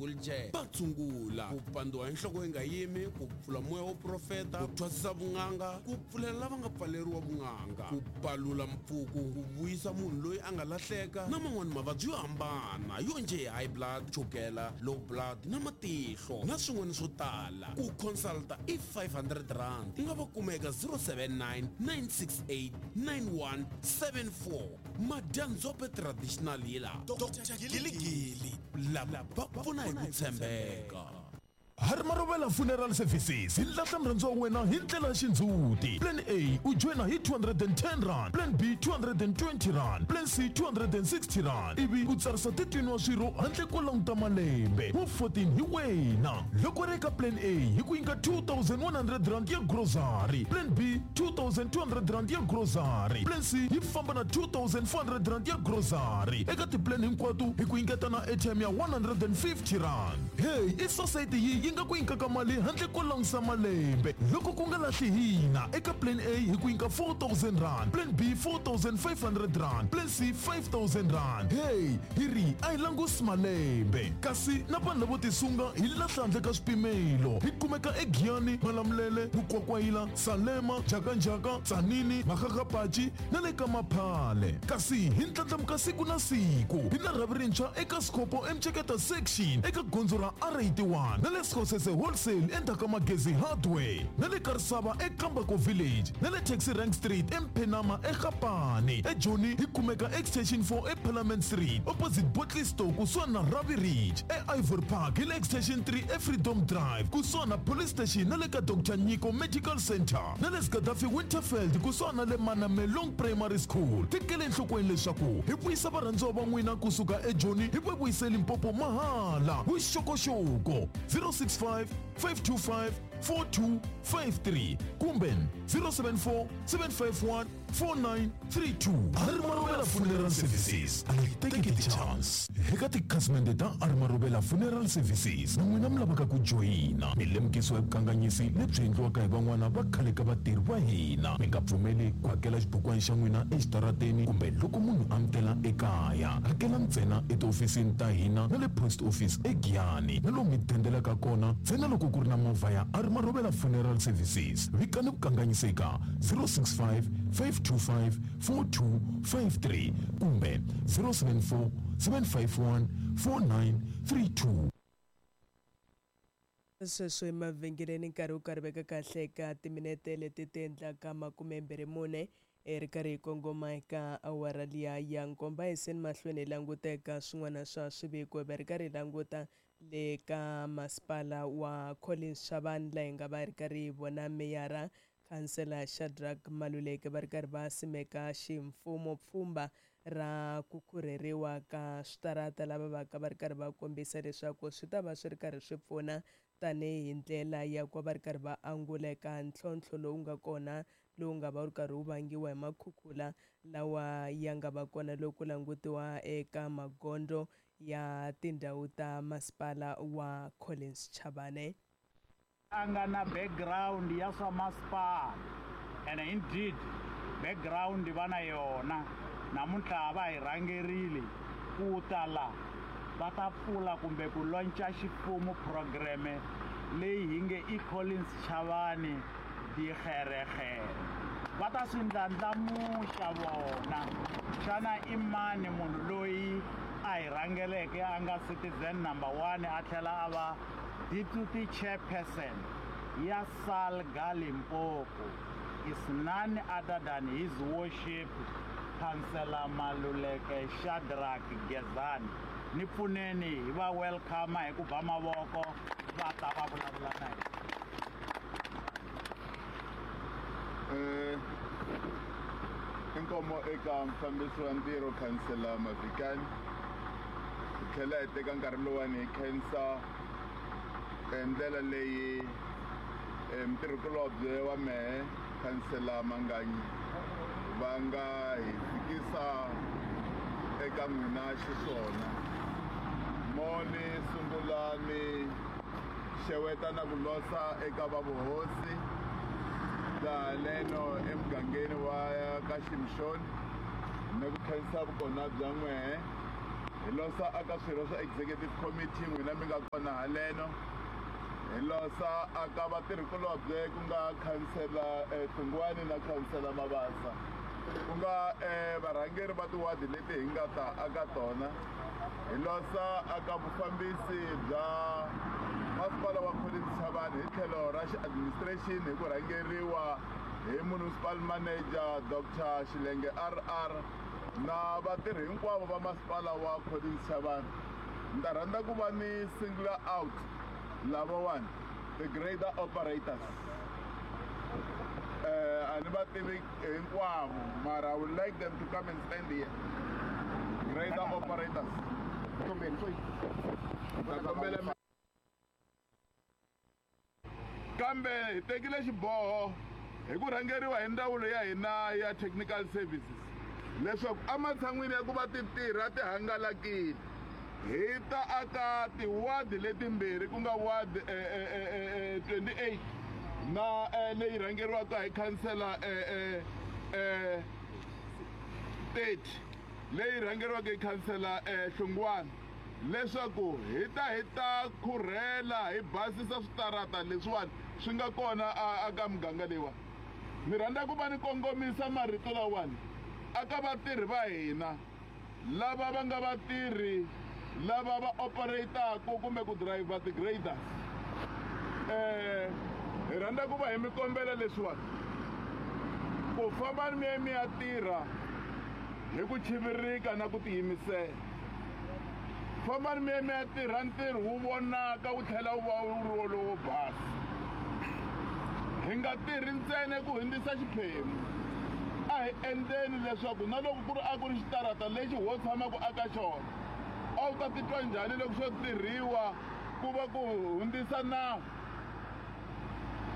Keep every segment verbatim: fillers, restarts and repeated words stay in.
wheelchair va tshungula ku pandziwa hi nhloko yi nga yimi, ku pfula moya wo profeta, ku thwasisa vun'anga, ku pfulela lava nga pfaleriwa vun'anga, ku palula mpfuku, ku vuyisa munhu loyi a nga lahleka na man'wani mavabyi yo hambana yo njhe high blood, chukela, low blood na matihlo na swin'wana swo tala. Ku consulta i five hundred rand. U nga va kuma eka zero seven nine, nine six eight, nine one seven four. Madyandzhope Traditional Healer, Doctor Giligili, lava va pfuna hi ku tshembeka. Hari Marobela Funeral Services hi lahla murhandzi wa wena hi ndlela ya xindzhuti. Plan A u joyina hi two hundred and ten rand, Plan B two hundred and twenty rand, Plan C two hundred and sixty rand. Ivi u tsarisa thirteen wa swirho handle ko languta malembe. Wa fourteen hi wena. Loko ri eka Plan A hi ku nyika two thousand one hundred rand ya grocery, Plan B two thousand two hundred rand ya grocery, Plan C yi famba na two thousand four hundred rand ya grocery. Eka ti-plan hinkwato hi ku nyiketa na airtime ya one hundred and fifty rand. Hey, i society yi yi nga ku nyikaka mali handle ko langusa malembe. Loko ku nga lahli hina, eka Plan A hi ku nyika four thousand rand, Plan B four thousand five hundred rand, Plan C five thousand rand. Hey, hi ri a hi langusi malembe. Kasi na vanhu lavo tisunga hi lahla handle ka swipimelo. Hi kumeka eGiyani, Malamulele, Mukwakwayila, Salema, Jakanjaka, Tzaneen, Makgakgapachi na le ka Maphale. Kasi hi ndlandlamuka siku na siku. Hi na rhavi rintshwa eka Sikopo eMceketa section eka gondzo ra R eighty-one na le Sekgosese Wholesale endzhaku ka Magezi Hardware na le Karisava eKambako Village na le Taxi Rank Street eMphenama eGapane. EJoni hi kumeka Extension four eParliament Street opposite Bottle Store kusuhani na Ravi Ridge. E Ivory Park hi le Extension three eFreedom Drive kusuhani na Police Station na le ka Doctor Nyiko Medical Center na le Gaddafi Winterfeld kusuhani na le Manamelong Primary School. Tekele enhlokweni leswaku hi vuyisa varhandziwa va n'wina kusuka eJoni hi va vuyise Limpopo mahala. Vuxokoxoko zero six five, five two five, four two five three kumbe zero seven four, seven five one, four nine three two. Hari Marobela Funeral Services, a hi teki ti-chance. Eka tikhasimende ta Hari Marobela Funeral Services na n'wina mi lavaka ku joyina, mi lemukisiwa hi vukanganyisi lebyi endliwaka hi van'wana va khale ka vatirhi va hina. Mi nga pfumeli ku hakela xibukwana xa n'wina exitarateni kumbe loko munhu a mi tela ekaya. Hakela ntsena etihofisini ta hina na le post office eGiyani na lomu mi dendelaka kona ntsena loko ku ri na movha ya Hari Marobela Funeral Services. Vikani vukanganyisi eka zero six five, five two five, four two five three kumbe zero seven four, seven five one, four nine three two. Sweswi emavhengeleni nkarhi wu karhi veka kahle eka timinete leti ti endlaka makume mbirhi mune ri karhi hi kongoma eka awara liya ya nkomba. Hi seni mahlweni hi languta eka swin'wana swa swiviko, hi va ri karhi hi languta le ka masipala wa Collins Chabane laha hi nga va ri karhi hi vona meyara Khansela Shadrack Maluleke va ri karhi va simeka ximfumo pfhumba ra ku khurheriwa ka switarata, lava va ka va ri karhi va kombisa leswaku swi ta va swi ri karhi swi pfuna tanihi ndlela ya ku va ri karhi va angula eka ntlhontlho lowu nga kona lowu nga va wu ri karhi wu vangiwa hi makhukhula lawa ya nga va kona loko ku langutiwa eka magondzo ya tindhawu ta masipala wa Collins Chabane. A nga na background ya swa masipala, and indeed background va na yona. Namuntlha va hi rhangerile ku ta la va ta pfula kumbe ku launcha ximfumo programme leyi hi nge i Collins Chabane Dikgerekgere. Va ta swi ndlandlamuxa vona. Xana i mani munhu loyi a hi rhangeleke a nga citizen number one a tlhela a va deputy chairperson ya SALGA Limpopo? Is none other than His Worship Councillor Maluleke Shadrack Gezani. Ni pfuneni hi va welcome hi ku ba mavoko va ta va vulavula na hina. Eh, inkomo eka mufambisi wa ntirho Councillor Mavikani. Hi tlhela hi teka nkarhi lowuwani hi khensa ndlela leyi mutirhikulobye wa mehe Councillor Manganyi va nga hi fikisa eka n'wina xiswona. Mo ni sungula ni xeweta na ku losa eka va vuhosi bya leno emugangeni wa ka Shimshon, ni ku khensa vukona bya n'wehe. Hi losa aka swirho swa executive committee n'wina mi nga kona haleno. Hi losa aka vatirhikulobye ku nga khansela Hlungwani na khansela Mabasa, ku nga varhangeri va tiwadi leti hi nga ta aka tona. Hi losa aka vufambisi bya masipala wa Collins Chabane hi tlhelo ra xi-administration hi ku rhangeriwa hi municipal manager Doctor Xilenge R R na vatirhi hinkwavo va masipala wa Collins Chabane. Ni ta rhandza ku va ni single out lavawani, the grader operators. Uh, a ni va tivi hinkwavo, mara I would like them to come and stand here. Grader operators. Ta kombela kambe hi tekile xiboho hi ku rhangeriwa hi ndzawulo ya hina ya technical services leswaku ematshan'wini ya ku va ti tirha ti hangalakile, hi ta aka tiwadi letimbirhi ku nga ward twenty-eight na leyi rhangeriwaka hi khansela thirty leyi rhangeriwaka hi khansela Hlungwani, leswaku hi ta hi ta khurhela hi basisa switarata leswiwani swi nga kona aka muganga leyiwani. Ni rhandza ku va ni kongomisa marito lawani aka vatirhi va hina lava va nga vatirhi lava va operataku kumbe ku driver ti-graders. Eh, hi rhandza ku va hi mi kombela leswiwani ku famba mi ya mi ya tirha hi ku chivirika na ku tiyimisela. Fambani mi ya mi ya tirha ntirho wu vonaka wu tlhela wu va wu ri wolowo basa. Hi nga tirhi ntsena ku hundzisa xiphemu, a hi endleni leswaku na loko ku ri a ku ri xitarata lexi ho tshamaka aka xona, a wu ta titwa njhani loko swo tirhiwa ku va ku hundzisa nawu?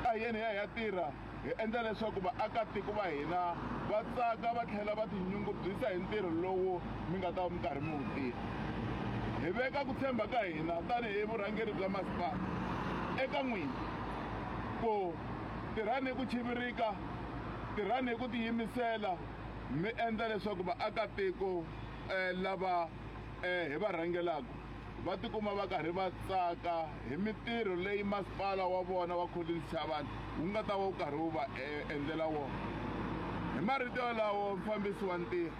A hi yeni hi ya hi ya tirha hi endla leswaku vaakatiko va hina va tsaka va tlhela va tinyungubyisa hi ntirho lowu mi nga ta va mi karhi mi wu tirha. Hi veka ku tshemba ka hina tanihi vurhangeri bya masipala eka n'wina ku tirhani hi ku chivirika, tirhani hi ku tiyimisela, mi endla leswaku vaakatiko lava hi va rhangelaka va tikuma va karhi va tsaka hi mintirho leyi masipala wa vona wa Collins Chabane wu nga ta va wu karhi wu va endlela wona. Hi marito yalawo, mufambisi wa ntirho,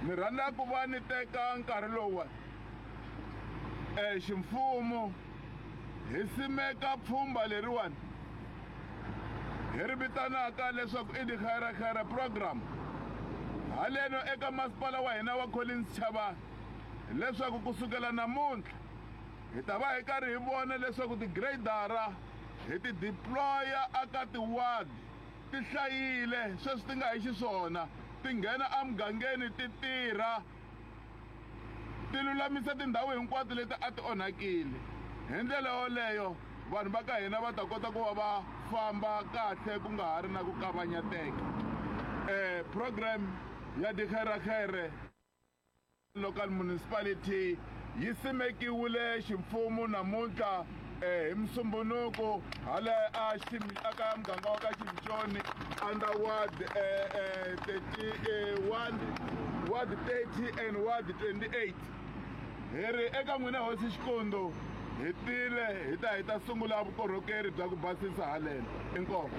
ni rhandza ku va ni teka nkarhi lowuwani eh ximfumo hi simeka pfhumba leriwani hi ri vitanaka leswaku i Dikgerekgere program haleno eka masipala wa hina wa Collins Chabane, leswaku kusukela namuntlha hi ta va hi karhi hi vona leswaku ti-gradara hi ti deploya aka tiwadi ti hlayile sweswi ti nga hi xiswona, ti nghena emugangeni ti tirha ti lulamisa tindhawu hinkwato leti a ti onhakile. Hi ndlela yoleyo vanhu va ka hina va ta kota ku va va famba kahle ku nga ha ri na ku kavanyeteka. Eh, program ya Dikgerekgere local municipality yi simekiwile ximfumo namuntlha eh, hi Musumbunuko hala a aka muganga wa ka Ximtshoni under ward eh, eh, thirty-one, ward thirty and ward twenty-eight. Hi ri eka n'wina hosi Xikondo hi tile hi ta hi ta sungula vukorhokeri bya ku basisa haleno. Inkomu.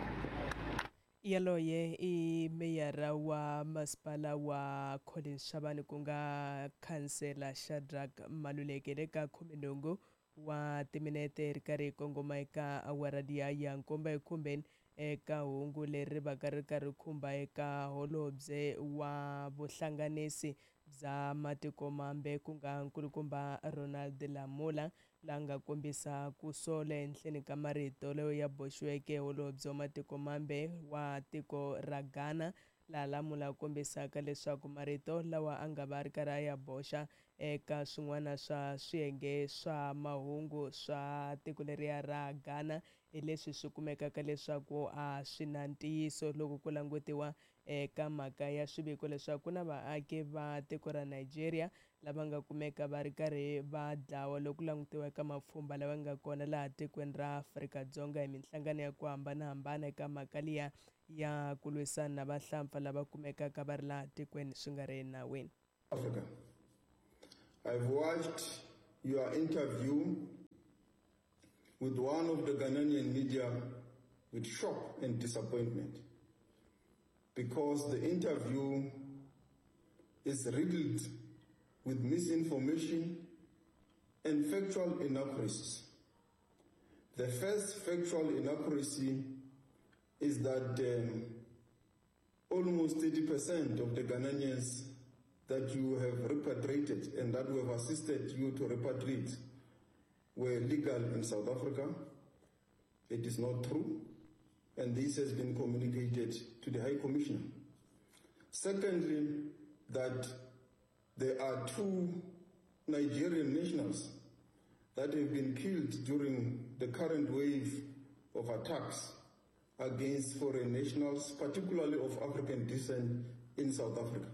Yaloye i meyara wa masipala wa Collins Chabane ku nga khansela Shadrack Maluleke le ka khumenhungu wa timinete ri karhi hi kongoma eka awara liya ya nkombo ekhumbeni eka hungu leri va ka ri karhi khumba eka holobye wa vuhlanganisi bya matiko mambe ku nga nkulukumba Ronald Lamola, la nga kombisa ku sola ehenhleni ka marito layo ya boxiweke holobye wa matiko mambe wa tiko ra Ghana, laha Lamola kombisaka leswaku marito lawa a nga va ri karhi a ya boxa eka swin'wana swa swiyenge swa mahungu swa tiko leriya ra Ghana hi leswi swi kumekaka leswaku a swi na ntiyiso loko ku langutiwa eka mhaka ya swiviko leswaku ku na vaaki va tiko ra Nigeria lava nga kumeka va ri karhi va dlawa loko langutiwa eka mapfhumba lawa nga kona laha tikweni ra Afrika-Dzonga hi minhlangano ya ku hambanahambana eka mhaka liya ya ku lwisana na vahlampfa lava kumekaka va ri laha tikweni swi nga ri enawini. Africa. I've watched your interview with one of the Ghanaian media with shock and disappointment, because the interview is riddled with misinformation and factual inaccuracies. The first factual inaccuracy is that um, almost thirty percent of the Ghanaians that you have repatriated and that we have assisted you to repatriate were legal in South Africa. It is not true, and this has been communicated to the High Commissioner. Secondly, that there are two Nigerian nationals that have been killed during the current wave of attacks against foreign nationals, particularly of African descent in South Africa.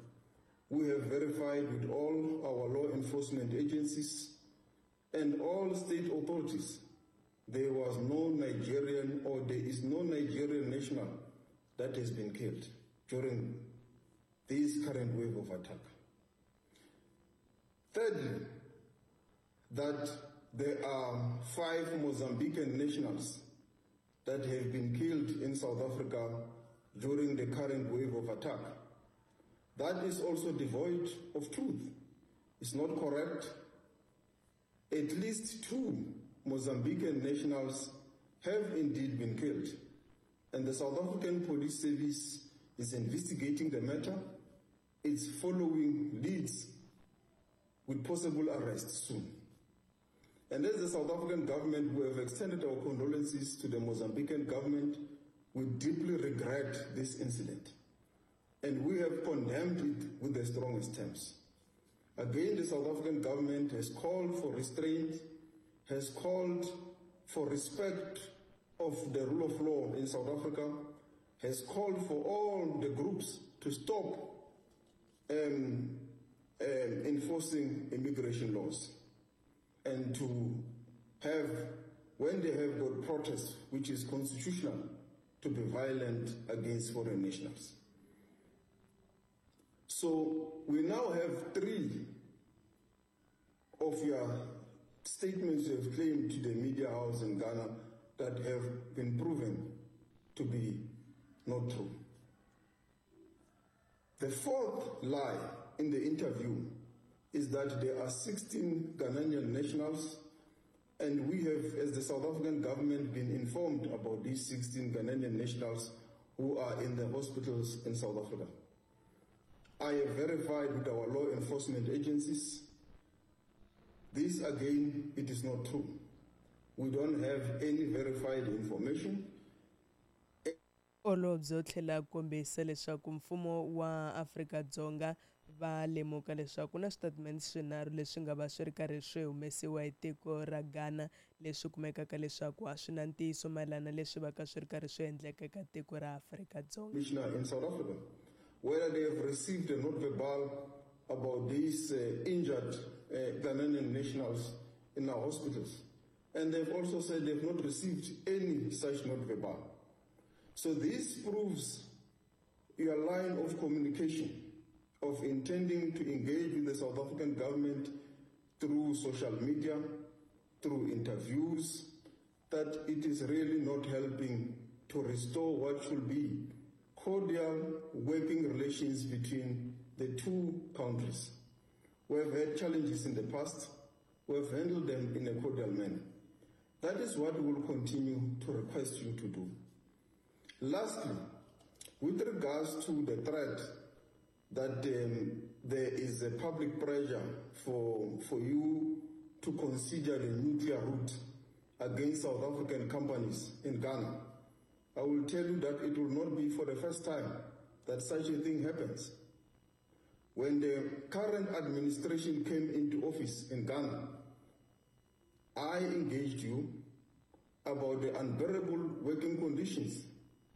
We have verified with all our law enforcement agencies and all state authorities, there was no Nigerian or there is no Nigerian national that has been killed during this current wave of attack. Thirdly, that there are five Mozambican nationals that have been killed in South Africa during the current wave of attack. That is also devoid of truth. It's not correct. At least two Mozambican nationals have indeed been killed, and the South African Police Service is investigating the matter. It's following leads with possible arrests soon. And as the South African government, we have extended our condolences to the Mozambican government. We deeply regret this incident, and we have condemned it with the strongest terms. Again, the South African government has called for restraint, has called for respect of the rule of law in South Africa, has called for all the groups to stop um, um, enforcing immigration laws and to have, when they have got protests, which is constitutional, to be violent against foreign nationals. So we now have three of your statements you have claimed to the media house in Ghana that have been proven to be not true. The fourth lie in the interview is that there are sixteen Ghanaian nationals, and we have, as the South African government, been informed about these sixteen Ghanaian nationals who are in the hospitals in South Africa. I have verified with our law enforcement agencies. This, again, it is not true. We don't have any verified information. Holobye u tlhela a kombisa leswaku mfumo wa Afrika-Dzonga va lemuka leswaku na switatimende swinharhu leswi nga va swi ri karhi swi humesiwa hi tiko ra Ghana leswi kumekaka leswaku a swi na ntiyiso mayelana leswi va ka swi ri karhi swi endleka eka tiko ra Afrika-Dzonga. Commissioner in South Africa, whether they have received a note verbal about these uh, injured uh, Ghanaian nationals in our hospitals. And they've also said they've not received any such note verbal. So this proves your line of communication of intending to engage with the South African government through social media, through interviews, that it is really not helping to restore what should be cordial working relations between the two countries. We have had challenges in the past. We have handled them in a cordial manner. That is what we will continue to request you to do. Lastly, with regards to the threat that um, there is a public pressure for, for you to consider the nuclear route against South African companies in Ghana, I will tell you that it will not be for the first time that such a thing happens. When the current administration came into office in Ghana, I engaged you about the unbearable working conditions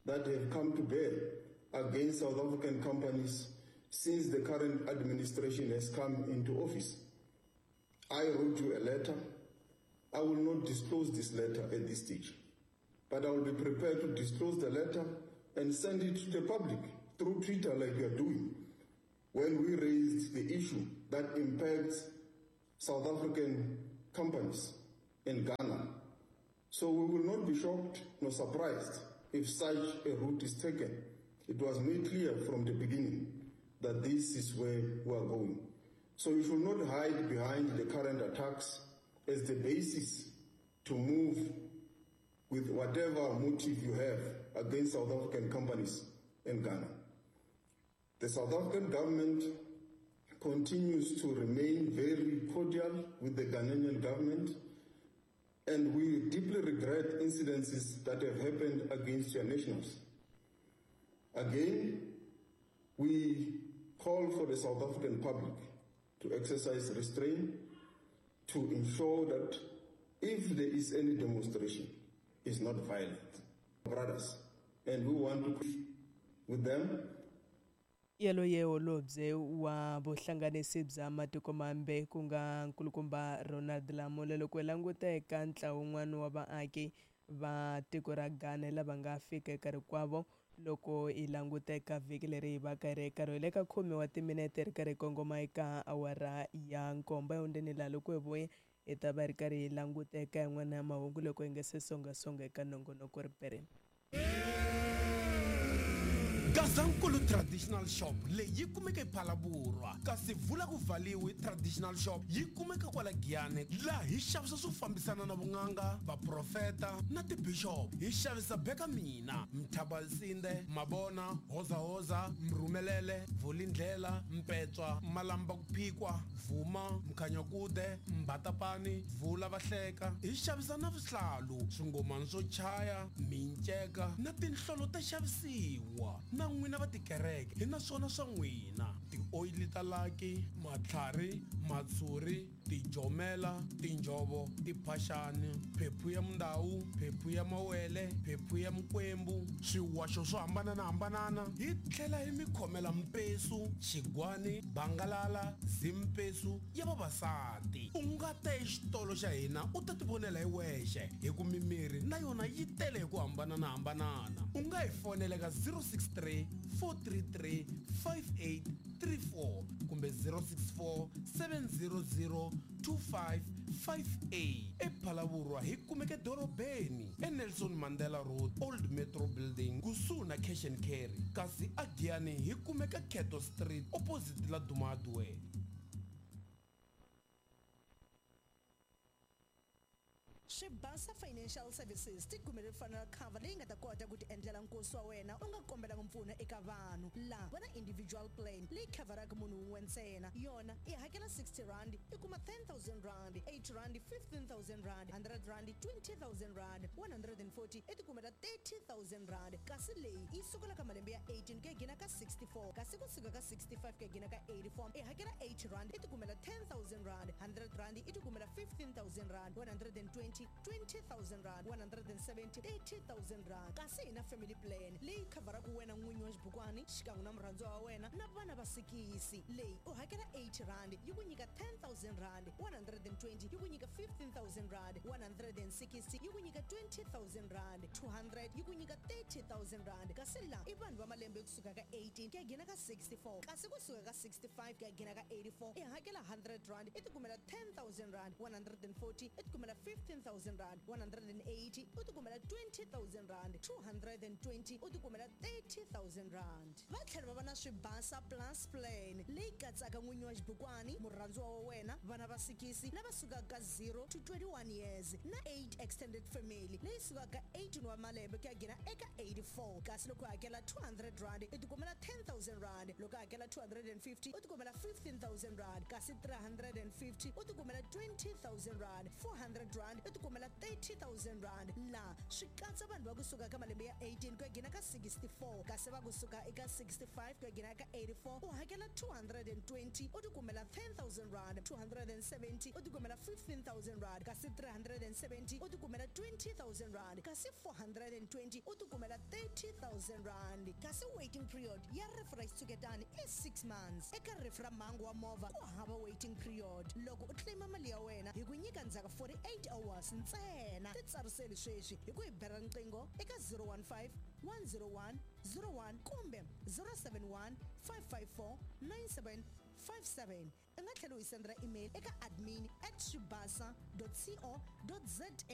that have come to bear against South African companies since the current administration has come into office. I wrote you a letter. I will not disclose this letter at this stage, but I will be prepared to disclose the letter and send it to the public through Twitter like we are doing, when we raised the issue that impacts South African companies in Ghana. So we will not be shocked nor surprised if such a route is taken. It was made clear from the beginning that this is where we are going. So you should not hide behind the current attacks as the basis to move with whatever motive you have against South African companies in Ghana. The South African government continues to remain very cordial with the Ghanaian government, and we deeply regret incidences that have happened against your nationals. Again, we call for the South African public to exercise restraint to ensure that if there is any demonstration, it's not violent. Brothers, and we want to with them. Yaloye holobye wa vuhlanganisi bya matiko mambe ku nga nkulukumba Ronald Lamola loko hi languta eka ntlawa wun'wana wa vaaki va tiko ra Ghana lava nga fika eka rikwavo loko hi languta eka vhiki leri hi va ka ri karhi hi le ka khume wa timinete ri karhi hi kongoma eka awara ya nkombo ehundzeni laha loko hi vuya hi ta va ri karhi hi languta eka yin'wana ya mahungu loko hi nga se songasonga eka nongonoko ripereni. Gazankulu Traditional Shop leyi yi kumeka ePhalaborwa, kasi vula ku valiwi Traditional Shop yi kumeka kwala Giyani, laha hi xavisa swo fambisana na vun'anga, vaprofeta na tibishop. Hi xavisa beka mina, mthabalsinde, mabona, hozahoza, mrhumelele, vulindlela, mpetswa, malamba ku phikwa, vuma, mkhanyakude, mbatapani, vula vahleka. Hi xavisa na swihlalu, swingomani swo chaya, minceka na tinhlolo ta xavisiwa. Na n'wina va tikereke hi na swona swa n'wina, tioyili ta laki, matlhari, matshuri, tijomela, tinjovo, tiphaxani, phephu ya mundawu, phephu ya mawele, phephu ya mikwembu, swiwaxo swo hambananahambanana. Hi tlhela hi mi khomela mpesu, xigwani, bangalala, zimpesu ya vavasati. U nga ta exitolo xa hina u ta tivonela hi wexe, hi ku mimiri na yona yi tele hi ku hambananahambanana. U nga hi fonela ka zero six three four three three five eight three four kumbe zero six four seven zero zero two five five eight. ePhalaborwa hi kumeka dorobeni eNelson Mandela Road, Old Metro Building, kusuhi na Cash and Carry, kasi aGiyani hi kumeka Keto Street opposite la Duma Hardware. Swibasa Financial Services ti kumele funeral cover leyi nga ta kota ku ti endlela nkosi wa wena u nga kombelanga mpfuno eka vanhu. Laha va na individual plan leyi khavaraka munhu wun'we ntsena, yona i hakela sixty rand i kuma ten thousand rand, eight rand fifteen thousand rand, hundred rand twenty thousand rand, one hundred and forty i ti kumela thirty thousand rand. Kasi leyi yi sukela ka malembe ya eighteen ku ya gina ka sixty-four, kasi kusuka ka sixty-five ku ya gina ka eighty-four i hakela eight rand i ti kumela ten thousand rand, hundred rand i ti kumela fifteen thousand rand, one hundred and twenty twenty thousand rand, one hundred and seventy thirty thousand rand. Kasi hi na family plan leyi khavaraka wena n'winyi wa xibukwani xikan'we na murhandziwa wa wena na vana va sikisi. Leyi u hakela eight rand yi ku nyika ten thousand rand, one hundred and twenty yi ku nyika fifteen thousand rand, one hundred and sixty yi ku nyika twenty thousand rand, two hundred yi ku nyika thirty thousand rand. Kasi laha i vanhu va malembe kusuka ka eighteen ku ya gina ka sixty-four, kasi kusuka ka sixty-five ku ya gina ka eighty-four i hakela hundred rand i ti kumela ten thousand rand, one hundred and forty i ti kumela fifteen thousand rand, one hundred and eighty u ti kumela twenty thousand rand, two hundred and twenty u ti kumela thirty thousand rand. Va tlhela va va na Swibasa Plus plan leyi katsaka n'winyi wa xibukwani, murhandziwa wa wena, vana va sikisi lava sukaka ka zero to twenty-one years na eight extended family leyi sukaka ka eighteen wa malembe ku ya gina eka eighty-four. Kasi loko u hakela two hundred rand i ti kumela ten thousand rand, loko u hakela two hundred and fifty u ti kumela fifteen thousand rand, kasi three hundred and fifty u ti kumela twenty thousand rand, four hundred rand i ti kumela thirty thousand rand. Laha swi katsa vanhu va kusuka ka malembe ya eighteen ku ya gina ka sixty-four, kasi va kusuka eka sixty-five ku ya gina ka eighty-four u hakela two hundred and twenty u ti kumela ten thousand rand, two hundred and seventy u ti kumela fifteen thousand rand, kasi three hundred and seventy u ti kumela twenty thousand rand, kasi four hundred and twenty u ti kumela thirty thousand rand. Kasi waiting period ya rifu ra xitshuketani i six months. Eka rifu ra mhangu wa movha ku hava waiting period. Loko u claima mali ya wena hi ku nyika ndzhaku forty-eight hours ntsena. Titsariseli sweswi hi ku hi bela riqingho eka zero one five one zero one zero one kumbe zero seven one five five four nine seven five seven. U nga tlhela u hi sendela email eka admin at swibasa co za.